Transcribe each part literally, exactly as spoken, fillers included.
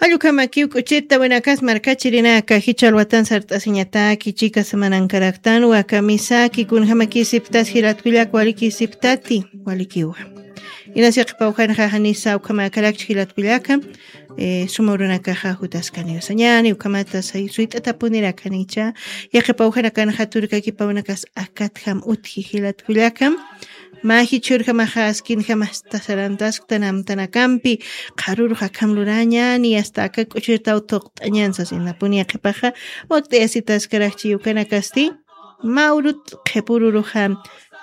Allukamakiw k'uchita winakas markachirinaka, jichha alwatan sart'asiñataki, chika semanankaraktan, wakamisaki, kunjamakisiptas jilatkullak, walikisiptati, walikiwa. Inas yaqipawjanxa janisa ukhamakarakchi jilatkullaka, eh, suma urunakaxa jutaskaniw sañani, ukhamata say-, suyt'atapunirakanïcha, yaqipawjanakanxa turkakipawinakas akatjam utji jilatkullaka, mä jichhürjamaxa askinjamasta sarantasktan amtanakampi, qharürux akham lurañäni, hasta aka k'uchirtaw thuqt'añän sasinapuni yaqhipaxa, wakt'ayasitaskarakchi ukanakasti, mä urut qhipüruruxa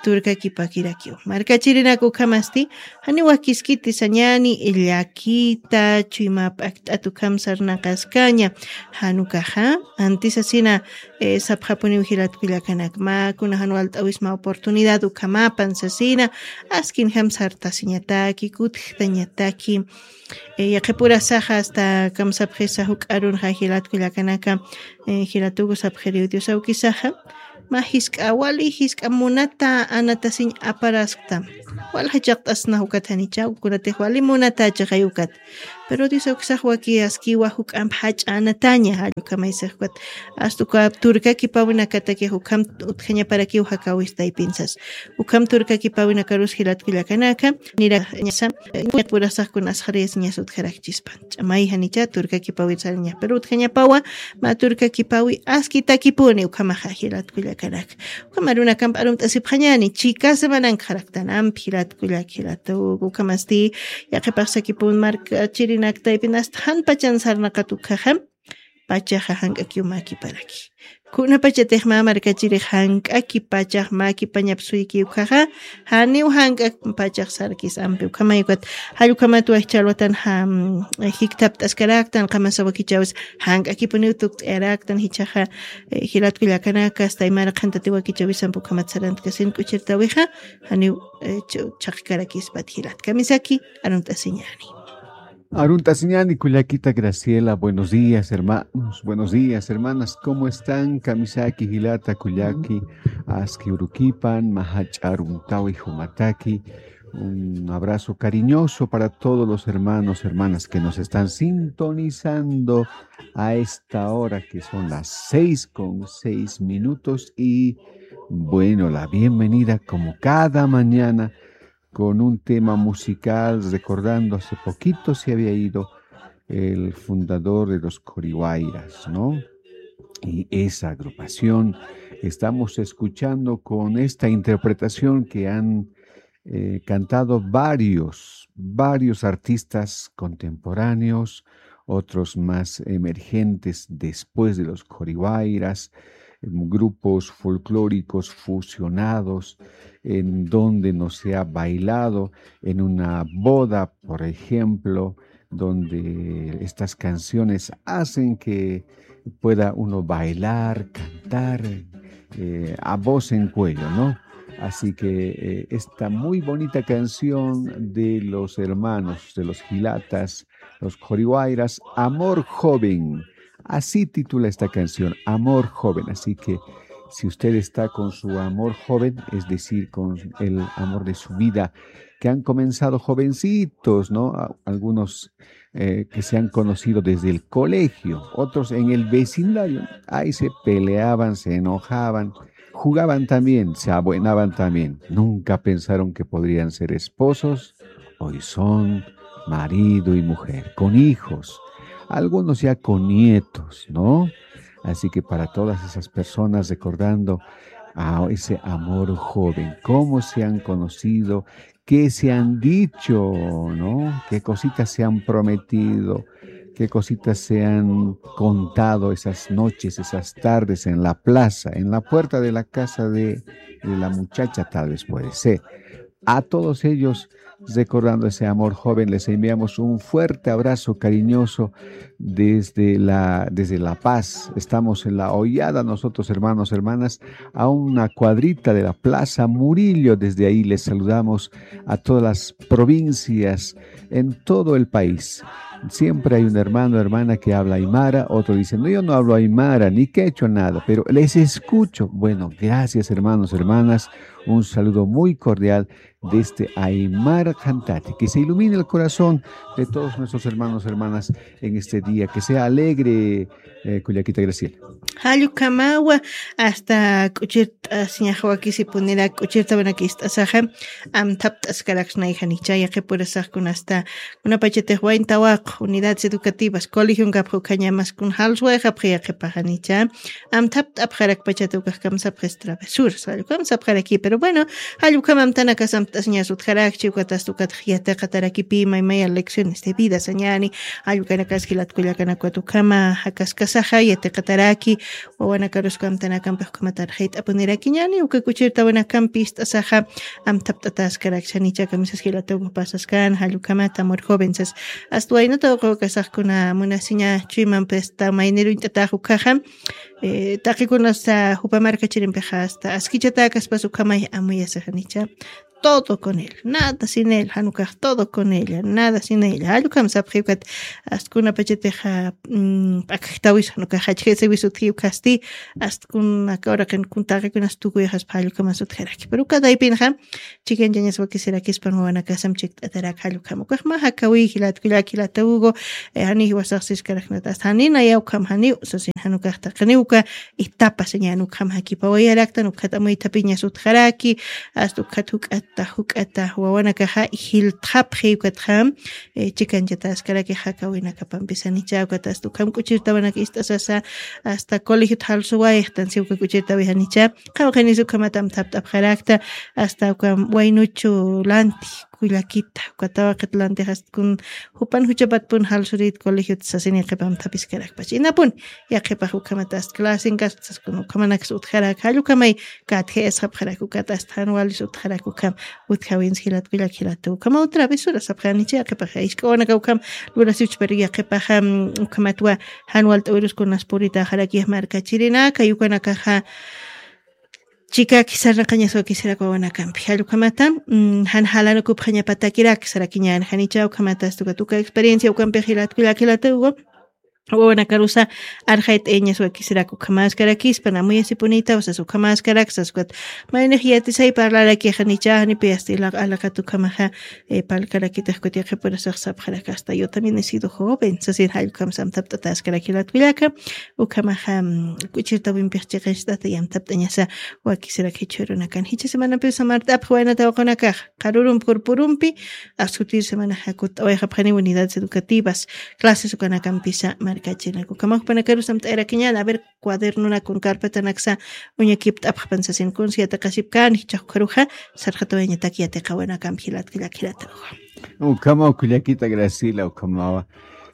turkakipakirakiw. Markachirinak ukhamasti, janiw wakiskiti sañäni, llakita, chuyma p'akt'at ukham sarnaqaskaña, jan ukaxa, antisasina, eh, sapxapuniw jilatkullakanak, mä kuna jan walt'äwisma oportunidad ukhamapan sasina, askinjam sartasiñataki, kutjtañataki, eh, yaqhipurasaxa hasta kamsapxisa juk'arunxa jilatkullakanaka, eh, jilatuku sapxiriw Dios awkisaxa, mä jisk'a wali, jisk'a munata anatasiñ aparaskta. Walja chaqt'asna ukat janicha, kunatix wali munata chaqay ukat. Pero Dios awkisax waki askiwa juk'amp jach'a anataña, jall ukhamaysax ukat. Hasta uka turkakipawinakatakix ukham utjañaparakiw jakawis taypinsas. Ukham turkakipawinakarus jilatkullakanaka, nirañasa, purasax kun asxariyasiñas utjarakchispan. Ch'amay janicha turkakipawir sariñax. Pero utjañapawa, mä turkakipawi askitakipuni ukhamaxa jilatkullakanaka. Ukham arunakamp arumt'asipxañäni, chika semanankxaraktan ampi jilatkullak, jilatuku, ukhamasti, yaqhipax sakipun markachirinak taypin hasta jan pachan sarnaqat ukhaxa, pachaxa jank'akiw mäkiparaki. Kunapachatix mä markachirix jank'aki pachax mäkipañap suyki ukhaxa, janiw jank'ak pachax sarkis ampi ukhamay ukat, jall ukhamat wajcha alwatan jam, jikthapt'askaraktan, qamasa wakichäwis jank'akipuniw tukt'ayaraktan, jichhaxa, eh, jilatkullakanaka, hasta aymara qhantati wakichäwisamp ukhamat sarantkasin k'uchirtäwixa, janiw, eh, ch-, chhaqkarakispat jilat. Kamisaki, arumt'asiñäni. Arumt'asiñäni kullakita Graciela, buenos días, hermanos, buenos días, hermanas, ¿cómo están? Kamisaki jilata kullaki, aski urukipan, mä jach'a arumtäwi jumataki. Un abrazo cariñoso para todos los hermanos, hermanas que nos están sintonizando a esta hora, que son las seis con seis minutos. Y, bueno, la bienvenida, como cada mañana, con un tema musical, recordando hace poquito se había ido el fundador de los Coriwairas, ¿no? Y esa agrupación estamos escuchando con esta interpretación que han, eh, cantado varios, varios artistas contemporáneos, otros más emergentes después de los Coriwairas, em, grupos folclóricos fusionados, en donde no se ha bailado en una boda, por ejemplo, donde estas canciones hacen que pueda uno bailar, cantar, eh, a voz en cuello, ¿no? Así que, eh, esta muy bonita canción de los hermanos, de los jilatas, los Coriwairas, Amor Joven. Así titula esta canción, Amor Joven. Así que si usted está con su amor joven, es decir, con el amor de su vida, que han comenzado jovencitos, ¿no? A-, algunos, eh, que se han conocido desde el colegio, otros en el vecindario. Ahí se peleaban, se enojaban, jugaban también, se abuenaban también. Nunca pensaron que podrían ser esposos. Hoy son marido y mujer, con hijos. Algunos ya con nietos, ¿no? Así que para todas esas personas recordando a ese amor joven, cómo se han conocido, qué se han dicho, ¿no? Qué cositas se han prometido, qué cositas se han contado esas noches, esas tardes en la plaza, en la puerta de la casa de, de la muchacha, tal vez puede ser. A todos ellos, recordando ese amor joven, les enviamos un fuerte abrazo cariñoso desde La, desde La Paz. Estamos en La Hoyada, nosotros, hermanos, hermanas, a una cuadrita de la Plaza Murillo. Desde ahí les saludamos a todas las provincias, en todo el país. Siempre hay un hermano, hermana que habla aymara, otro dice, "No, yo no hablo aymara, ni quechua, nada, pero les escucho". Bueno, gracias, hermanos, hermanas. Un saludo muy cordial desde Aymar Cantati. Que se ilumine el corazón de todos nuestros hermanos, hermanas en este día. Que sea alegre, eh, Cuyaquita Graciela. Jallukamawa, hasta k'uchirt'asiñax wakisipunira k'uchirtawanak ist'asaxa, amthapt'askaraksnayjanicha, yaqipurasaxkun hasta una pachatix wayntawax, unidades educativas, colegion kapxukhañamaskun jalswayxapxi yaqipaxanicha, amthapt'apxarak pachata ukax kamsapxis travesuras, jallukam sapxaraki, pero bueno, jallukam amtanakas amt'asiñas utjarakchi, ukatasta ukatx yatiqatarakipï maymaya lecciones de vida sañani, jallukanakas jilatkullakanakwa ukhama jakaskasaxa yatiqataraki, wawanakarusku amtanakampix ukhamatar jayt'apunirakiñani, uka k'uchirtawanakampi ist'asaxa, amthapt'ataskarakchanicha kamisas jilataw pasaskan, jallukama tamur joven sas, hasta waynata uqawkasaxkuna munasiña chuymampista mayniruñt'atax ukhaxa, eh, taqikunas, ah, jupa markachirimpixa hasta askichatäkaspas ukhamay amuyasixanicha. Todo con él, nada sin él, janukax todo con ella, nada sin ella. Jallukam sapxiwkat, astkuna pachatixa, mm, p'akjtawis janukax jachjisawis utjiwkasti, astkuna kawraqin kun taqikunas tukuyxaspa jallukamas utjaraki. Pero uka taypinxa, chikanchañas wakisirakispan wawanakasam chikt'atarak jallukam. Ukax mä jakawi jilatkullak jilata Hugo, eh, jani jiwasax siskaraknata. Hasta jani naya ukham janiw, sasin jan ukax taqiniw uka etapa sañan ukham jakipawayaraktan, ukhat amuythapiñas utjaraki, hasta ukhat juk'ata, juk'ata wawanakaxa jiltxapxi ukatxam, eh, chikanchata askaraki jakawinakapampisanicha, ukat hasta ukham k'uchirtawanak ist'asasa, hasta colegiot jalsuwayxtan, si uka k'uchirtawixanicha, qawqhinis ukhamat amthapt'apxarakta, hasta uka waynuchu lanti, kullakita, uka tawaqit lantix astkun jupan juchapatpun jalsurit colegiot sasin yaqip amthapiskarakpach. Inapun, yaqhipax ukhamat ast clasen kasktsaskun ukhamanakas utjarak, jallukamay katjayasxapxarak ukat ast jan walis utjarak ukham utjawins jilatkullak jilata ukhama otra vez urasapxanicha yaqhipaxa isk'awanaka ukham lurasiwchpar yaqhipaxa, mm, ukhamatwa jan walt'awiruskunas puritaxarak yaq markachirinaka, yukanakaxa chikaki sarnaqañas wakisirak wawanakampi. Jallukhamata, mm, jan jalanukupxañapatakirak sarakiñan janicha ukhamata astuka tuka experiencia ukampi jilatkullak jilata Hugo, wawanakarusa arxayt'ayañas wakisirak ukhamaskarakispan amuyasipunita, usas ukhamaskarak saskwat. Maynix yatisay parlarakixanicha, janipi asti alaq-, alaqat ukhamaxa, eh, palkarakitix kutiqipurasax sapxarak hasta yo también he sido joven, sasin jallukam samtapt'ataskarak jilatkullaka, ukhamaxa, mm, k'uchirtawimpix chiqincht'ata yamtapt'añasa wakisirak jichhürunakan. Jichha semanampi samart'apx waynata waqunakax, qarurumpi, purpurumpi, askutir semanaxa kutt'awayxapxani unidades educativas, clases ukanakampisa markachinaku. Ukhamax jupanakaru samt'ayarakiñan, a ver, cuadernonakun carpetanaksa uñakipt'apxpan sasin kunsi yatiqasipkani, jichhax ukharuxa, sarxatawayañatak yatiqawanakampi jilatkullak jilata Hugo. Ukhama, kullakita Graciela, ukhamawa.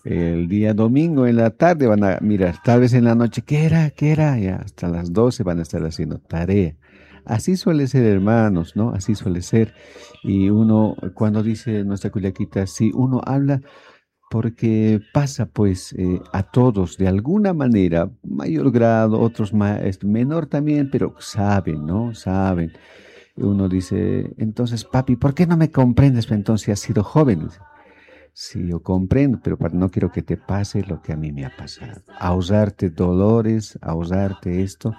El día domingo en la tarde van a mirar, tal vez en la noche, ¿qué era? ¿Qué era? Ya hasta las doce van a estar haciendo tarea. Así suele ser, hermanos, ¿no? Así suele ser. Y uno, cuando dice nuestra cullaquita, si uno habla, porque pasa, pues, eh, a todos, de alguna manera, mayor grado, otros ma-, este, menor también, pero saben, ¿no? Saben. Uno dice, entonces, papi, ¿por qué no me comprendes? Entonces, si has sido joven. Dice, sí, yo comprendo, pero pa-, no quiero que te pase lo que a mí me ha pasado. Ahorrarte dolores, ahorrarte esto.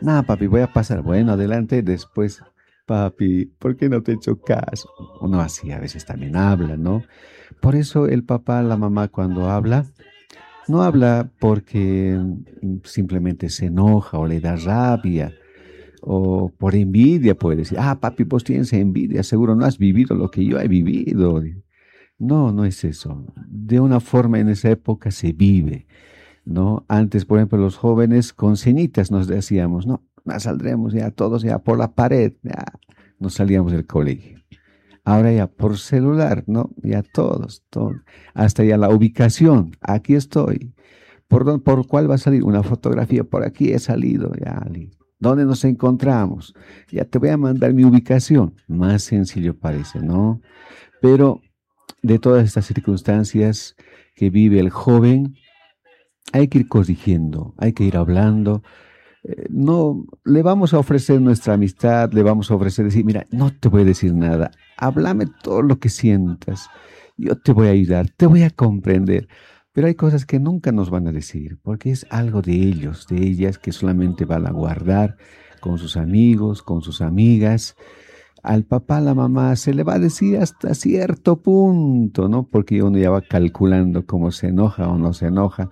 Nada, papi, voy a pasar. Bueno, adelante, después, papi, ¿por qué no te he hecho caso? Uno así a veces también habla, ¿no? Por eso el papá, la mamá cuando habla, no habla porque, mm, simplemente se enoja o le da rabia o por envidia puede decir, ah, papi, vos tienes envidia, seguro no has vivido lo que yo he vivido. No, no es eso. De una forma en esa época se vive, ¿no? Antes, por ejemplo, los jóvenes con ceñitas nos decíamos, no, ya saldremos ya todos ya por la pared, ya nos salíamos del colegio. Ahora ya por celular, ¿no? Ya todos, todo. Hasta ya la ubicación, aquí estoy. ¿Por dónde, por cuál va a salir? Una fotografía, por aquí he salido, ya, li-, ¿dónde nos encontramos? Ya te voy a mandar mi ubicación. Más sencillo parece, ¿no? Pero de todas estas circunstancias que vive el joven, hay que ir corrigiendo, hay que ir hablando. Eh, no le vamos a ofrecer nuestra amistad, le vamos a ofrecer decir, mira, no te voy a decir nada, háblame todo lo que sientas, yo te voy a ayudar, te voy a comprender. Pero hay cosas que nunca nos van a decir, porque es algo de ellos, de ellas, que solamente van a guardar con sus amigos, con sus amigas. al papá, la mamá, se le va a decir hasta cierto punto, ¿no? Porque uno ya va calculando cómo se enoja o no se enoja.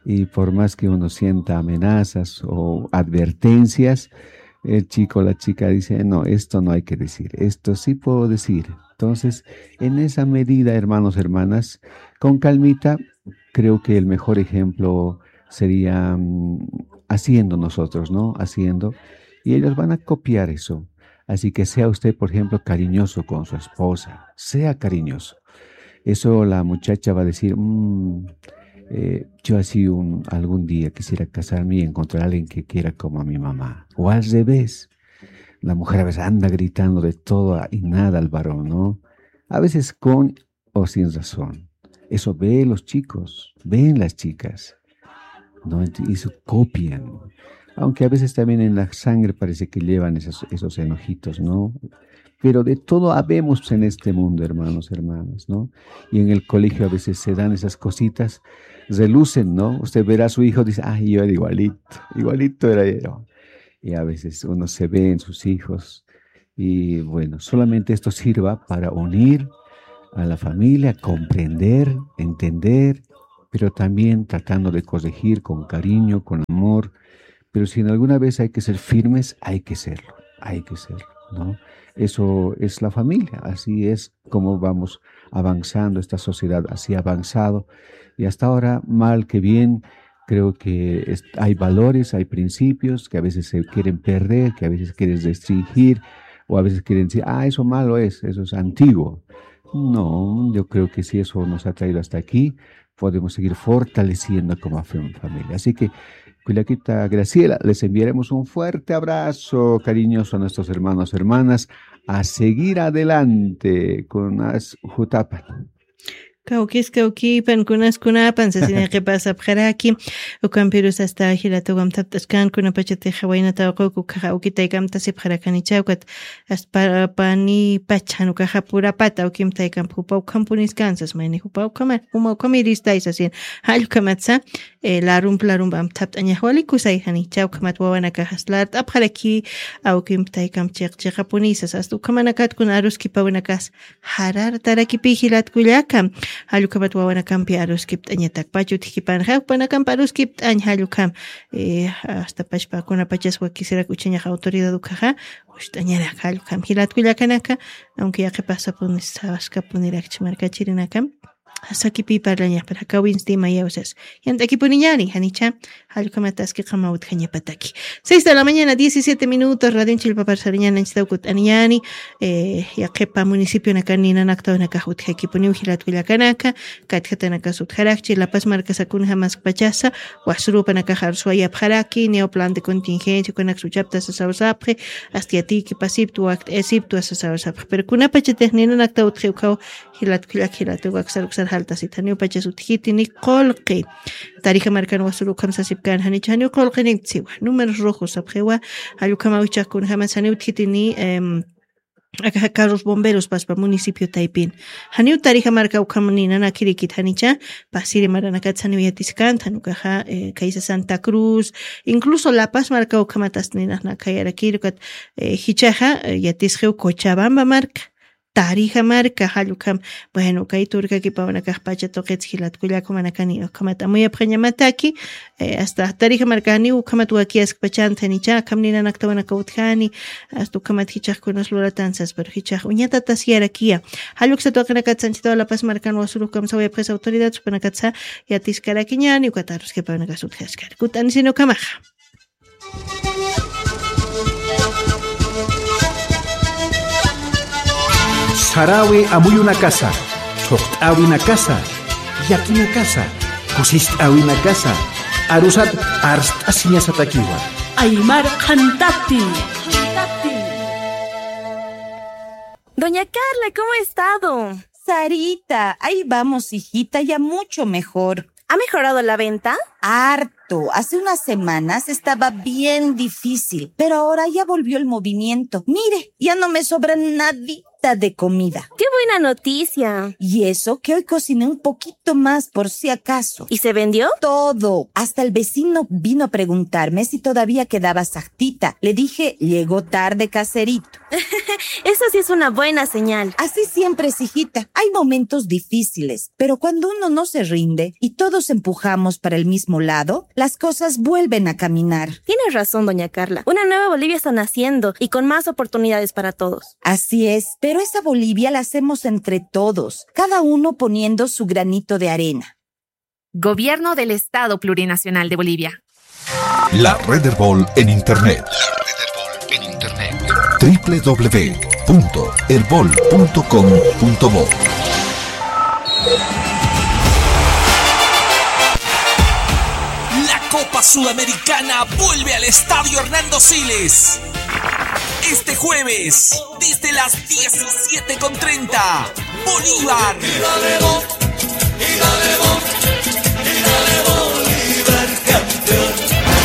Y por más que uno sienta amenazas o advertencias, el chico o la chica dice, no, esto no hay que decir, esto sí puedo decir. Entonces, en esa medida, hermanos, hermanas, con calmita, creo que el mejor ejemplo sería mm, haciendo nosotros, ¿no? Haciendo. Y ellos van a copiar eso. Así que sea usted, por ejemplo, cariñoso con su esposa. Sea cariñoso. Eso la muchacha va a decir, "Mm, eh, yo así un, algún día quisiera casarme y encontrar a alguien que quiera como a mi mamá". O al revés, la mujer a veces anda gritando de todo y nada al varón, ¿no? A veces con o sin razón. Eso ven los chicos, ven las chicas, ¿no? Ent- Y eso copian. Aunque a veces también en la sangre parece que llevan esos, esos enojitos, ¿no? Pero de todo habemos en este mundo, hermanos, hermanas, ¿no? Y en el colegio a veces se dan esas cositas, relucen, ¿no? Usted verá a su hijo, dice, ay, yo era igualito, igualito era yo. Y a veces uno se ve en sus hijos. Y bueno, solamente esto sirva para unir a la familia, comprender, entender, pero también tratando de corregir con cariño, con amor. Pero si en alguna vez hay que ser firmes, hay que serlo, hay que serlo, ¿no? Eso es la familia, así es como vamos avanzando, esta sociedad así ha avanzado. Y hasta ahora, mal que bien, creo que es- hay valores, hay principios que a veces se quieren perder, que a veces quieren restringir o a veces quieren decir, ah, eso malo es, eso es antiguo. No, yo creo que si eso nos ha traído hasta aquí, podemos seguir fortaleciendo como fam- familia. Así que, Cuyaquita Graciela, les enviaremos un fuerte abrazo cariñoso a nuestros hermanos, hermanas, a seguir adelante con las jutapas. Kawkis kawkipan kunas kunapan sasina qipasapxaraki. Ukampirus asta jilatuwam thapt'askan kunapachatix jawaynata uquku kaxa ukitaykamta sipxarakanichawkat. Asparapani pachan ukaxa purapata ukimtaykampa jupa ukhampuniskan sasmayni jupa ukhama juma ukhamiristay sasin. Jallkamatsa, larump larump amthapt'añaxwalikusay jani chawkhamat wawanakaxas lart'apxaraki. Awkimp taykam chiq chiqapunisas asta ukhamanakat kuna aruskipawinakas. Jarartarakipi jilatkullaka. Jallukhamat wawanakampi aruskipt'añatak pachut jikipanxa jupanakamp aruskipt'añ jallukham. Asta pachpa kunapachas wakisirak uchañax autoridad ukhaxa. Ust'añarak jallukham jilatkullakanaka. Aunque yaqipasapuni sawaskapuniraki chmarkachirinakam. Sakipi parlañapar jakawinsti mayawsas. Yant'akipuniñani janicha. Jallukhamataski qama utjañapataki. Seis de la mañana diecisiete minutos radion chilpapar sariñani anchitaw kut'aniñani. Yaqhipa municipionakan ninanaktawnakax utjakipuniw jilatkullakanaka. Katjatanakas utjarakchi lapas markasakunjamaskpachasa. Wasurupanakax arsuwayapxaraki niyaw plan de contingencia kunaksa uchapta sasawsapxi. Asta yatiykipasiptu wakt'ayasiptu asasawsapxi pero kunapachatix ninanakta utji ukhaw. Jilatkullak jilatuwak saruksar jaltasita janiw pachas utjitini qulqi. Tarija markan wasuru ukham sasipkan janicha janiw qulqiniptsiwa números rojos sapxiwa. Jallukhamaw ichaq kunjamas janiw utjitini. Akaxa carros bomberos paspa municipio taypin. Janiw tarija marka ukham ninanakirikit janicha. Pasiri maranakat janiw yatiskanta janukaxa kaysa santa cruz. Incluso lapas marka ukhamatasta ninaxna khayarakirukat. Jichaxa yatisxiw cochabamba marka. Tarija marka jallukham. Bueno kay turkakipawanakax pacha tuqits jilatkullakumanakani ukhamat amuyapxañamataki. Asta tarija markaniw ukhamat wakiyaskpachanta janicha akham ninanaktawanaka utjani. Asta ukhamat jichaxkunas luratansas pero jichax uñatatas yarakiya. Jalluksat waqinakatsa anchitaw lapas markan wasuru ukham sawayapxis autoridad supanakatsa. Yatiskarakiñani ukat aruskipawanakas utjaskar kut'anisini ukhamaxa. Sarawi amuyunakasa, thuqt'awinakasa, yakinakasa, kusist'awinakasa, arusat arst'asiñasatakiwa. Aymar qhantati. Doña Carla, ¿cómo ha estado? Sarita, ahí vamos, hijita, ya mucho mejor. ¿Ha mejorado la venta? Harto. Hace unas semanas estaba bien difícil, pero ahora ya volvió el movimiento. Mire, ya no me sobra nadita. falta de comida. ¡Qué buena noticia! Y eso que hoy cociné un poquito más por si acaso. ¿Y se vendió? Todo. Hasta el vecino vino a preguntarme si todavía quedaba sajtita. Le dije, llegó tarde, caserito. Eso sí es una buena señal. Así siempre es, hijita. Hay momentos difíciles, pero cuando uno no se rinde y todos empujamos para el mismo lado, las cosas vuelven a caminar. Tiene razón, doña Carla. Una nueva Bolivia está naciendo y con más oportunidades para todos. Así es, pero esa Bolivia la hacemos entre todos, cada uno poniendo su granito de arena. Gobierno del Estado Plurinacional de Bolivia. La Red Erbol en Internet. La Red Erbol en Internet. W W W punto erbol punto com punto bo. La Copa Sudamericana vuelve al Estadio Hernando Siles. Este jueves, desde las diecisiete con treinta, Bolívar